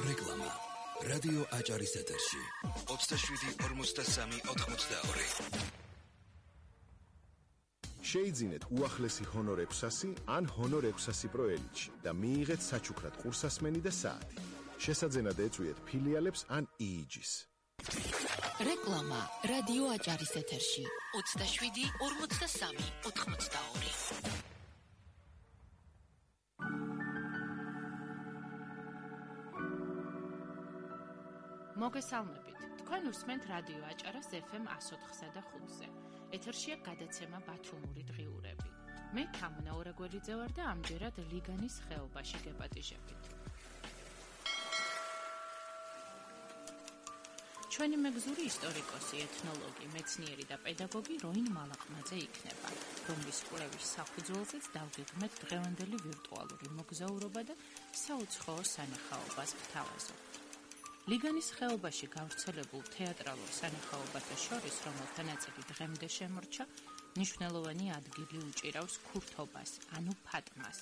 რეკლამა რადიო აჭარის ეთერში 27-43-82 შეიძინეთ უახლესი ჰონორ 600 ან ჰონორ 600 Pro Elite და მიიღეთ საჩუქრად ყურსასმენი და საათი. შესაძენად ეწვიეთ ფილიალებს ან EEG-ს. რეკლამა რადიო აჭარის ეთერში 27-43-82 მოგესალმებით. თქვენ უსმენთ რადიო აჭარას FM 104-სა და 5-ზე. ეთერშია გადაცემა ბათუმური დღიურები. მე თამნა ორაგველიძე ვარ და ამჯერად ლიგანის ხეობაში გეპატიჟებით. ჩვენი მეგზური ისტორიკოსი, ეთნოლოგი, მეცნიერი და პედაგოგი როინ მალაყმაძე იქნება, რომლის კვლევის საფუძველზეც დავგეგმეთ დღევანდელი ვირტუალური მოგზაურობა და საუცხოო სანახაობას ვთავაზობთ. ლიგანის ხეობაში გავრცელებულ თეატრალურ სანახაობათა შორის, რომელთა ნაწილი დღემდე შემორჩა, მნიშვნელოვანი ადგილი უჭირავს ქურთობას, ანუ ფატმას.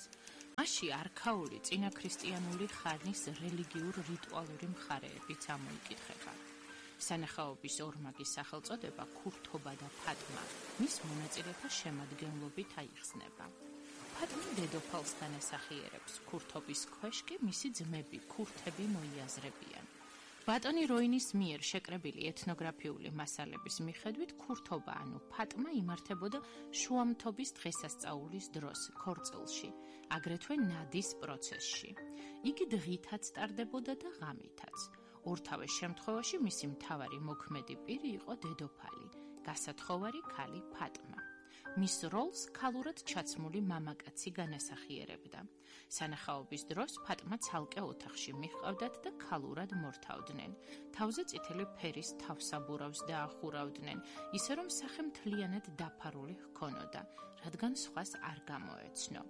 მასში არქაული წინაქრისტიანული ხანის რელიგიურ რიტუალური მხარეებიც ამოიკითხება. სანახაობის ორმაგის სახელწოდება ქურთობა და ფატმა მის მონაწილეთა შემადგენლობით აიხსნება. ფატმა დედოფალსთან ასახიერებს, ქურთობის ქვეშ კი მისი ძმები ქურთები მოიაზრებიან. ბატონი როინის მიერ შეკრებილი ეთნოგრაფიული მასალების მიხედვით ქურთობა ანუ ფატმა იმართებოდა შუამთობის დღესასწაულის დროს ქორწილში, აგრეთვე ნადის პროცესში. იგი დღითაც ტარდებოდა და ღამითაც. ორთავეს შემთხვევაში მისი მთავარი მოქმედი პირი იყო დედოფალი, გასათხოვარი ქალი ფატმა. მის როლს ქალურად ჩაცმული მამაკაცი განასახიერებდა. სანახაობის დროს ფატმა ცალკე ოთახში მიჰყავდათ და ქალურად მორთავდნენ. თავზე წითელი ფერის თავსაბურავს დაახურავდნენ, ისე რომ სახე მთლიანად დაფარული ჰქონოდა, რადგან სხვას არ გამოეცნო.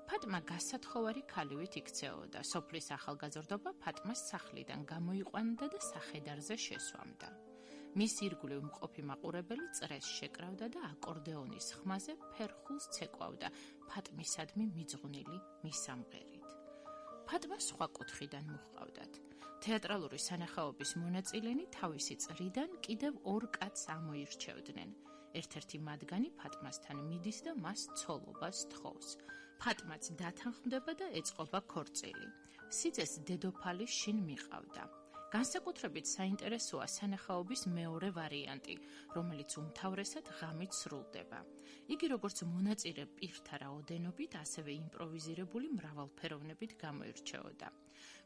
ფატმა გასათხოვარი ქალივით იქცეოდა. სოფლის ახალგაზრდობა ფატმას სახლიდან გამოიყვანდა და სახედარზე შესვამდა. მის ირგვლივ მყოფი მაყურებელი წრეს შეკრავდა და აკორდეონის ხმაზე ფერხულს ცეკვავდა ფატმისადმი მიძღვნილი მისამღერით. ფატმა სხვა კუთხიდან მოჰყავდათ. თეატრალური სანახაობის მონაწილენი თავისი წრიდან კიდევ ორ კაცს ამოირჩევდნენ. ერთ-ერთი მათგანი ფატმასთან მიდის და მას ცოლობას თხოვს. ფატმაც დათანხმდება და ეწყობა ქორწილი. სიძეს დედოფალი შინ მიყავდა. განსაკუთრებით საინტერესოა სანახაობის მეორე ვარიანტი, რომელიც უმთავრესად ღამით სრულდება. იგი როგორც მონაწილე პირთა რაოდენობით, ასევე იმპროვიზირებული მრავალფეროვნებით გამოირჩეოდა.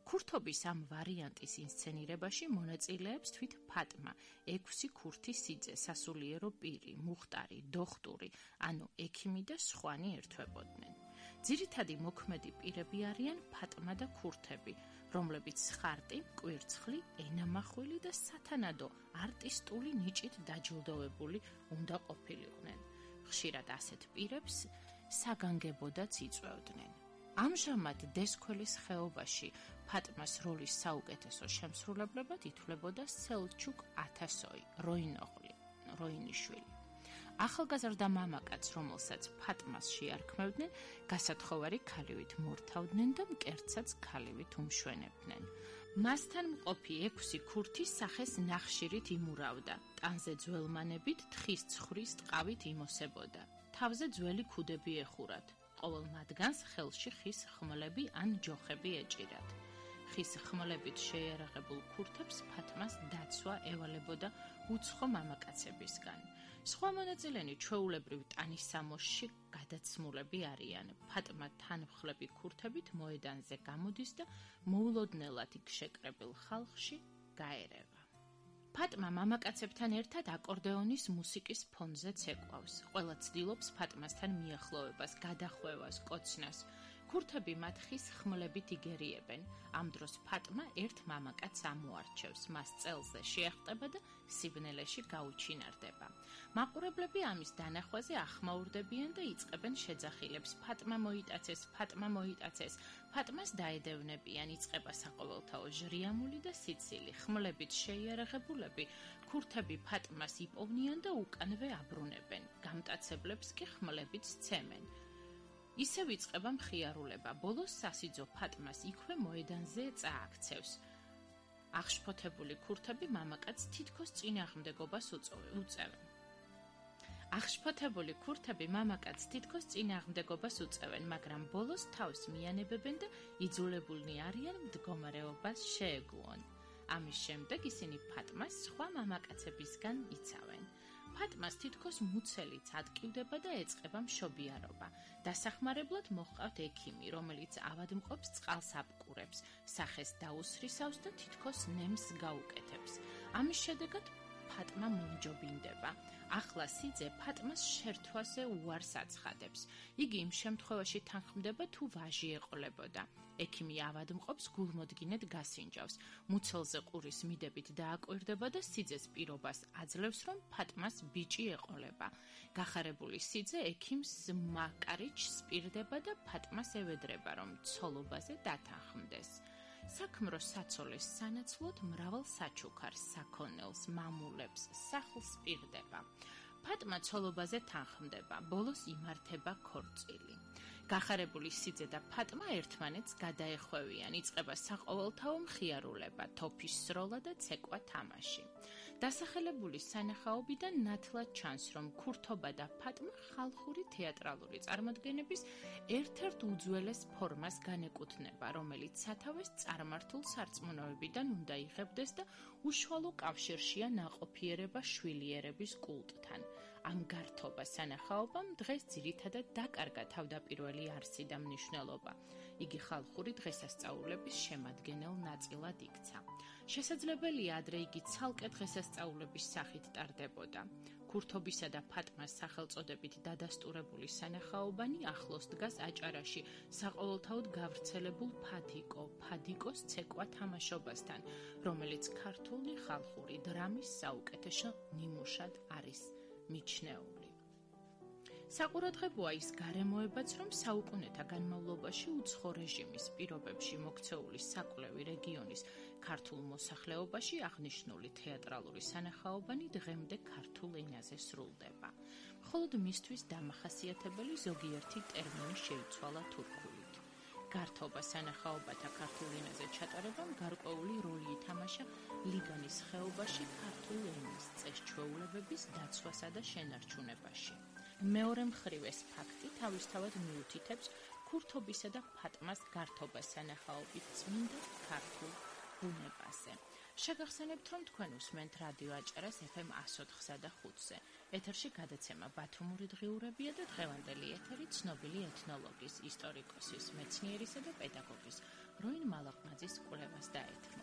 ქურთობის ამ ვარიანტის ინსცენირებაში მონაწილეებს თვით ფატმა, 6 ქურთი სიძე, სასულიერო პირი, მუხტარი, დოხტური, ანუ ექიმი და სხვანი ერთვებოდნენ. ძირითადი მოქმედი პირები არიან ფატმა და ქურთები, რომლებიც ხარტი, კვირცხლი, ენამახვილი და სათანადო არტისტული ნიჭით დაჯილდოვებული უნდა ყოფილიყვნენ. ხშირად ასეთ პირებს საგანგებოდაც იწვევდნენ. ამჟამად დესქველის ხეობაში ფატმას როლის საუკეთესო შემსრულებლებად ითვლებოდა სელჩუკ ათასოი, როინიშვილი. ახალგაზრდა მამაკაც, რომელსაც ფატმას შეარქმევდნენ, გასათხოვარი ქალივით მორთავდნენ და მკერდსაც ქალივით უმშვენებდნენ. მასთან მყოფი 6 ქურთი სახეს ნახშირით იმურავდა, ტანზე ძველმანებით თხის ცხვრის ტყავით იმოსებოდა. თავზე ძველი ქუდები ეხურათ. ყოველ მათგანს ხელში ხის ხმლები ან ჯოხები ეჭირათ. ხის ხმლებით შეიარაღებულ ქურთებს ფატმას დაცვა ევალებოდა უცხო მამაკაცებისგან. სხვა მონაწილენი ჩვეულებრივ ტანისამოსში გადაცმულები არიან. ფატმა თანმხლები ქურთებით მოედანზე გამოდის და მოულოდნელად იქ შეკრებილ ხალხში გაერევა. ფატმა მამაკაცებთან ერთად აკორდეონის მუსიკის ფონზე ცეკვავს. ყველა ცდილობს ფატმასთან მიახლოვებას, გადახვევას, კოცნას. ქურთები მათ ხის ხმლებით იგერიებენ. ამ დროს ფატმა ერთ მამაკაცს ამოარჩევს, მას წელზე შეახტება და სიბნელეში გაუჩინარდება. მაყურებლები ამის დანახვაზე ახმაურდებიან და იწყებენ შეძახილებს. ფატმა მოიტაცეს, ფატმა მოიტაცეს. ფატმას დაედევნებიან, იწყება საყოველთაო ჟრიამული და სიცილი. ხმლებით შეიარაღებულები ქურთები ფატმას იპოვნიან და უკანვე აბრუნებენ. გამტაცებლებს კი ხმლებით სცემენ. ისე ვიწყება მხიარულება, ბოლოს სასიძო ფატმას იქვე მოედანზე წააქცევს. აღშფოთებული ქურთები მამაკაცს თითქოს წინააღმდეგობას უწევენ. აღშფოთებული ქურთები მამაკაცს თითქოს წინააღმდეგობას უწევენ, მაგრამ ბოლოს თავს მიანებებენ და იძულებულნი არიან მდგომარეობას შეეგუონ. ამის შემდეგ ისინი ფატმას სხვა მამაკაცებისგან იცავენ. ფატმას თითქოს მუცელიც ატკივდება და ეწყება მშობიარობა. დასახმარებლად მოჰყავთ ექიმი, რომელიც ავადმყოფს წყალს აპკურებს, სახეს დაუსრისავს და თითქოს ნემს გაუკეთებს. ამის შედეგად ფატმა მომჯობინდება. ახლა სიძე ფატმას შერთვაზე უარს აცხადებს. იგი იმ შემთხვევაში თანხმდება, თუ ვაჟი ეყოლებოდა. ექიმი ავადმყოფს გულმოდგინედ გასინჯავს. მუცელზე ყურის მიდებით დააკვირდება და სიძეს პირობას აძლევს, რომ ფატმას ბიჭი ეყოლება. გახარებული სიძე ექიმს მაკარიჩს პირდება და ფატმას ევედრება, რომ ცოლობაზე დათანხმდეს. საქმრო საცოლის სანაცვლოდ მრავალ საჩუქარს, საქონელს, მამულებს, სახლს პირდება. ფატმა ცოლობაზე თანხმდება, ბოლოს იმართება ქორწილი. გახარებული სიძე და ფატმა ერთმანეთს გადაეხვევიან, იწყება საყოველთაო მხიარულება, თოფის სროლა და ცეკვა თამაში. დასახელებული სანახაობიდან ნათლად ჩანს, რომ ქურთობა და ფატმა ხალხური თეატრალური წარმოდგენების ერთ-ერთ უძველეს ფორმას განეკუთვნება, რომელიც სათავეს წარმართულ სარწმუნოებიდან უნდა იღებდეს და უშუალო კავშირშია ნაყოფიერება შვილიერების კულტთან. ამ გართობა სანახაობამ დღეს ძირითადად დაკარგა თავდაპირველი არსი და მნიშვნელობა. იგი ხალხური დღესასწაულების შემადგენელ ნაწილად იქცა. შესაძლებელია ადრე იგი ცალკე დღესასწაულების სახით ტარდებოდა. ქურთობისა და ფატმას სახელწოდებით დადასტურებული სანახაობანი ახლოს დგას აჭარაში საყოველთაოდ გავრცელებულ ფადიკოს ცეკვა თამაშობასთან, რომელიც ქართული ხალხური დრამის საუკეთესო ნიმუშად არის მიჩნეული. საყურადღებოა ის გარემოებაც, რომ საუკუნეთა განმავლობაში უცხო რეჟიმის პირობებში მოქცეული საკვლევი რეგიონის ქართულ მოსახლეობაში აღნიშნული თეატრალური სანახაობანი დღემდე ქართულ ენაზე სრულდება. მხოლოდ მისთვის დამახასიათებელი ზოგიერთი ტერმინი შეიცვალა თურქულით. გართობა სანახაობათა ქართულ ენაზე ჩატარებამ გარკვეული როლი ითამაშა ლიგანის ხეობაში ქართულ ენის წეს-ჩვეულებების დაცვასა და შენარჩუნებაში. მეორე მხრივ ეს ფაქტი თავისთავად მიუთითებს ქურთობისა და ფატმას გართობა სანახაობით წმინდა ქართულ ბუნებაზე. შეგახსენებთ, რომ თქვენ უსმენთ რადიო აჭარას FM 104-სა და 5-ზე. ეთერში გადაცემა ბათუმური დღიურებია და დღევანდელი ეთერი ცნობილი ეთნოლოგის, ისტორიკოსის, მეცნიერისა და პედაგოგის როინ მალაყმაძის კვლევას დაეთმო.